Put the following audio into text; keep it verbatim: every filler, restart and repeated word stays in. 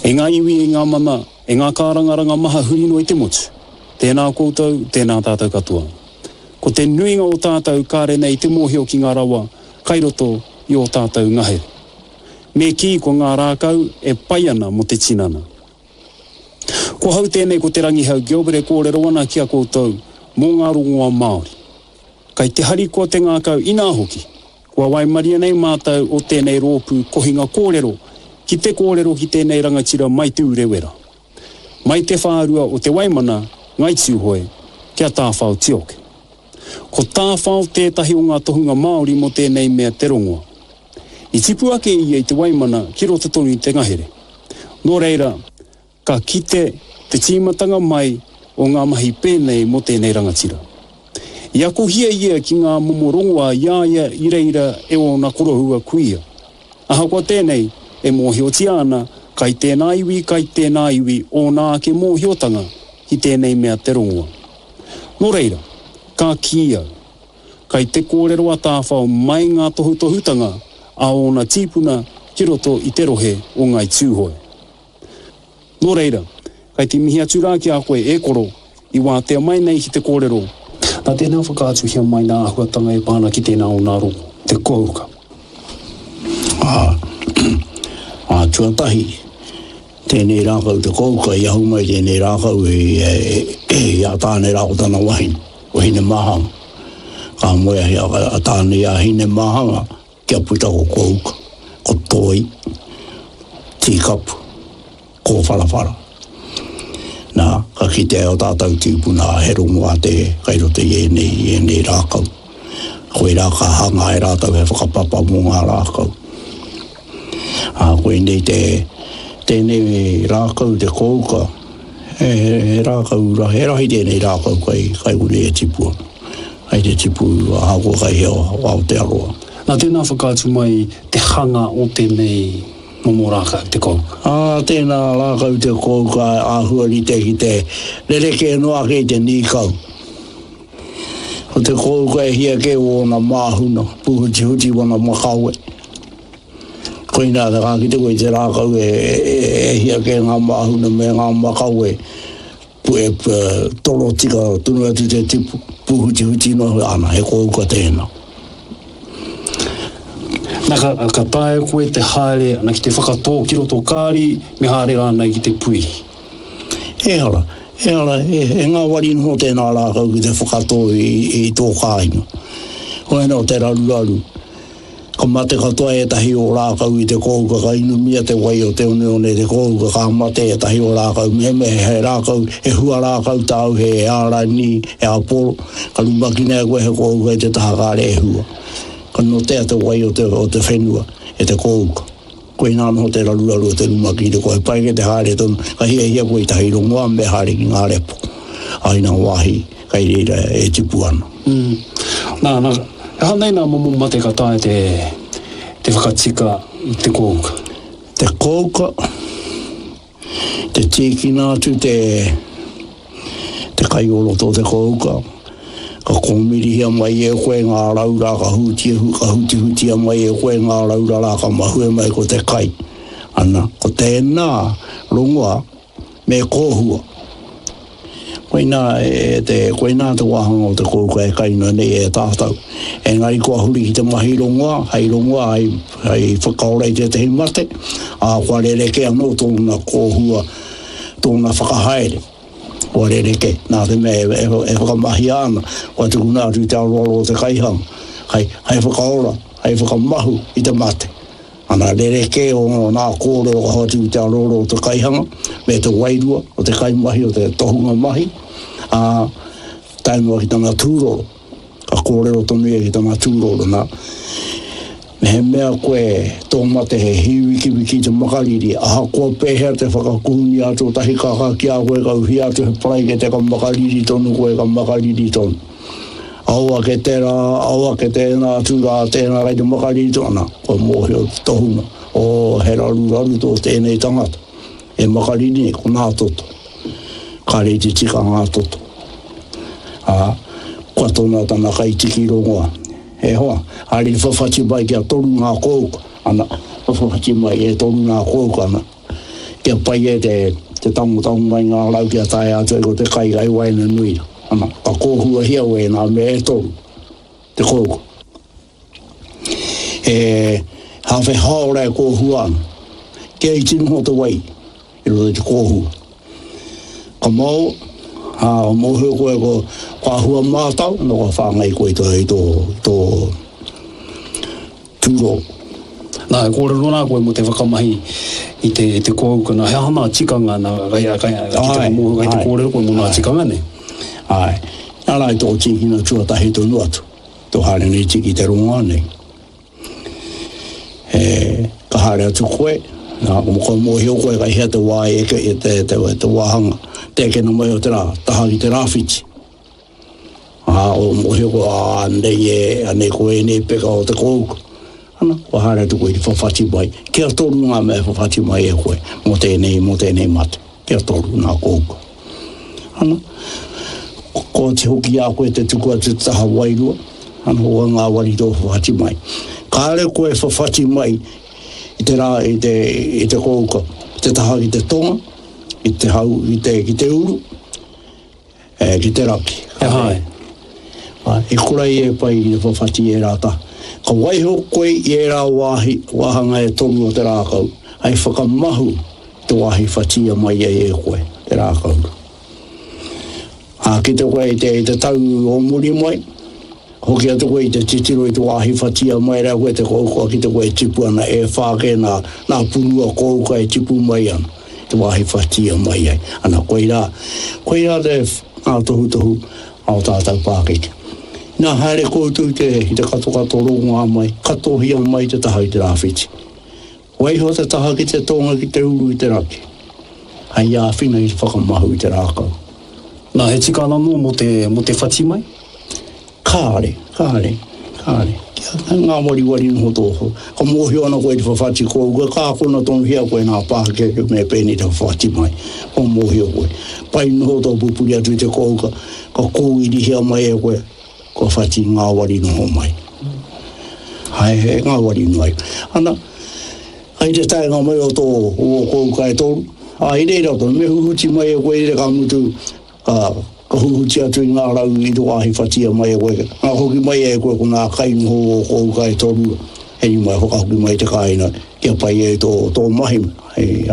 E ngā iwi, e ngā mana, e ngā kārangaranga maha huri noa i te motu. Tēnā koutou, tēnā tātou katoa. Ko te nuinga o tātou kāre nei te mōhio ki ngā rawa kai roto i ō tātou ngahere. Me kī ko ngā rākau e pai ana mō te tinana. Ko hau tēnei ko Te Rangihau Gilbert e kōrero ana ki a koutou mō ngā rongoa Māori. Kai te harikoa te ngākau inā hoki, kua waimaria nei mātou o tēnei rōpū kohinga kōrero ki te kōrero ki tēnei rangatira mai Te Urewera. Mai te whārua o Te Waimana, Ngai Tūhoe, kia Tāwhao Tioke. Ko Tāwhao tētahi o ngā tohunga Māori mō tēnei mea te rongoa. I tipu ake ia i Te Waimana ki roto tonu i te ngahere. Nō reira, ka kite te tīmatanga mai o ngā mahi pēnei mō tēnei rangatira. I akohia ia ki ngā momo rongoa i a ia i reira e ōna koroua kuia. Ahakoa tēnei, e mōhiotia ana, kai tēnā iwi, kai tēnā iwi ōna ake mōhiotanga ki tēnei mea te rongoa. Nō reira, ka kī au, kai te kōrero a Tāwhao mai ngā tohutohutanga a ōna tīpuna ki roto i te rohe o Ngai Tūhoe. Nō reira, kai te mihi atu rā ki a koe e koro, i wātea mai nei ki te kōrero. Nā tēnā whakaatuhia mai nā āhuatanga e pā ana ki tēnā o nā rongo, te kouka. Ā, ā, tuatahi, tēnei rākau te kouka, i ahu mai tēnei rākau i, i, i a Tāne rā ko tana wahine, ko Hinemāhanga. Ka moe a, a Tāne i a Hinemāhanga, kia puta ko kouka, ko toi, tīkapu, kōwharawhara. Nā, ka kitea o tātou tīpuna he rongoā te kai roto i ēnei, i ēnei rākau. Koirā ka hanga e rātou he whakapapa mō ngā rākau. Ā, koinei te, tēnei rākau, te kouka, he, he, he rākau, he rahi tēnei rākau kai, kai konei e tipu ana. Kai te tipu ahakoa kai hea o Aotearoa. Nā tēnā whakaatu mai te hanga o tēnei momo rākau, te kouka. Ā, tēnā rākau te kouka āhua rite ki te rerekē noa ake i te nīkau. Ko te kouka e hia kē ōna māhuna, pūhutihuti wana makawe. Koinā te ka kite koe i te rākau e, e, e hia kē ngā māhuna me ngā makawe, e, e, toro tika tonu atu te tipu, pūhutihuti noa, ana, he kouka tēnā. Nā, ka, ka taea koe te haere ana ki te whakatō ki roto kāri, me haere rānei ki te puihi. Ehara, ehara, e, e ngāwari noho tēnā rākau ki te whakatō i, i tō kāinga. Koinā o te raruraru. Ka mate katoa ētahi o rākau i te kouka, ka inumia te wai o te oneone te kouka, ka mate ētahi o rākau. Mehemea he rākau, he hua rākau tāu, he ārani, he aporo, ka rumakina e koe he kouka i te taha kāre e hua. Ka notea te wai o te, o te whenua e te kouka. Koinā noho te raruraru o te rumaki i te koe pai ke te haere tonu, ka hiahia koe i tahi rongoa me haere ki ngā repo. Ai nā wāhi kai reira e tipu ana. Mm. Nā, nā, he aha nei nā momo mate ka taea te, te whakatika i te kouka? Te kouka, te tīkina atu te, te kai o roto o te kouka, ka kōmirihia mai e koe ngā raura, ka hūtia, ka hutihutia mai e koe ngā raura rā, ka mahue mai ko te kai. Ana, ko tēnā rongoa me kōhua. Koinā e te, koinā te wāhanga o te kouka e kaina nei e tātou. Engari kua huri ki te mahi rongoa, hei rongoa, hei, hei whakaora i tētahi mate, ā, kua rerekē anō tōna kōhua, tōna whakahaere. Kua rerekē, nā te mea e, e, e whakamahia ana, kua tukuna atu i te aroaro o te kaihanga, hei, hei whakaora, hei whakamahu i te mate. Ana rerekē o ngā kōrero ka hoatu i te aroaro o te kaihanga, me te wairua o te kaimahi, o te tohunga mahi, ā, tae noa ki tana tūroro. Ka kōrero tonu ia ki tana tūroro, nā. Mehemea koe tō mate he hīwikiwiki te makariri, ahakoa pēhea te whakakuhunia atu o tahi kākā ki a koe, ka uhia atu he paraikete ka makariri tonu koe, ka makariri tonu. Ao ake tērā, ao ake tēnā atu rā, tēnā kai te makariri tonu, ana, kua mōhio te tohunga, oh, he raruraru tō tēnei tangata, e makariri nei, ko ngā toto. Kāre i te tika ngā toto. Ā, kua tona tana kaitiki rongoa. E hoa, haere i whawhati mai kia toru ngā kouka, ana, whawhati mai e toru ngā kouka, ana, Kia pai e te, te tango tango mai ngā rau kia tae atu ai ko te kai kai waenganui. Ana, ka kōhuahia wēnā mea e toru, te kouka. E hāwhe hāora e kōhua ana, kia iti noho te wai i roto i te kōhua. Ka mau, ha, mōhio koe ko, ko ahua mātau, no ka whāngai koe i tō, i tō, i tō tūrō. Nā, e kōrero nā koe mō te whakamahi i te, te kōuka, nā, he aha nā tikanga, nā, kai, kai, ki te mōhio kai te kōrero koe mō nā tikanga nei. Ai, nā rā i tō tīkina tuatahi tonu atu, tō haere nei tiki te rongoā nei. E, ka haere atu koe, nā, ko mōhio koe kai hea te wā e eke, e te, te, te wāhanga, te ekena mai o te rā, taha ki te rāwhiti. Ā, o mōhio koe, ā, anei e, anei ko ēnei peka o te kōuka. Ana, kua haere atu koe i te whawhati mai, kia toru ngā mea whawhati mai e koe, mō tēnei, mō tēnei mate, kia toru ngā kōuka. Ana, ko te hoki a koe te tuku atu te taha wairua, ana ko ngā wari tō whawhati mai. Kāre koe whawhati mai i te rā, i te, i te kōuka, te taha ki te tonga, i te hau, i te, ki te uru, e, ki te raki. E hae. I kura i e pai i te whawhati e rā taha. Ka waiho koe i e rā wāhi, wāhanga e toru o te rākau, ai whakamahu te wāhi whatia mai ai e koe, te rākau. Ā, ki te koe i te, i te tau o muri mai, hoki atu koe i te titiro i te wāhi whatia mai rā koe te kouka ki te koe e tipu ana e whāke nā, nā punua kouka e tipu mai ana, te wāhi whatia mai ai. Ana, koirā, koirā te ngā tohutohu a o tātou pākeke. Nā haere koutou te, i te katokato rongoā mai, katohia mai te taha i te rāwhiti. Waiho te taha ki te tonga ki te uru i te raki. Hei āwhina i te whakamahu i te rākau. Nā, he tikanga anō mō te, mō te whati mai? Kāre, kāre, kāre. Kia ngā wariwari noho tōho. Ka mōhio ana koe i te whawhati kouka, ka akona tonuhia koe nā pākeke me pēnei te whawhati mai. Ko mōhio koe. Pai noho tō pupuri atu i te kouka, ka kōirihia mai e koe, kua whati ngā wari noho mai. Hai, he ngā wari noa. Ana, kai te taenga mai o tō o kouka e toru, a i reira tonu, me huhuti mai e koe i re ka mutu, ka, ka huhuti atu i ngā rau i te wāhi whatia mai e koe. Ngā hoki mai e koe ko ngā kai noho o kouka e toru, hei mai whakahoki mai te kāinga, kia pai e tō, tō mahi, hei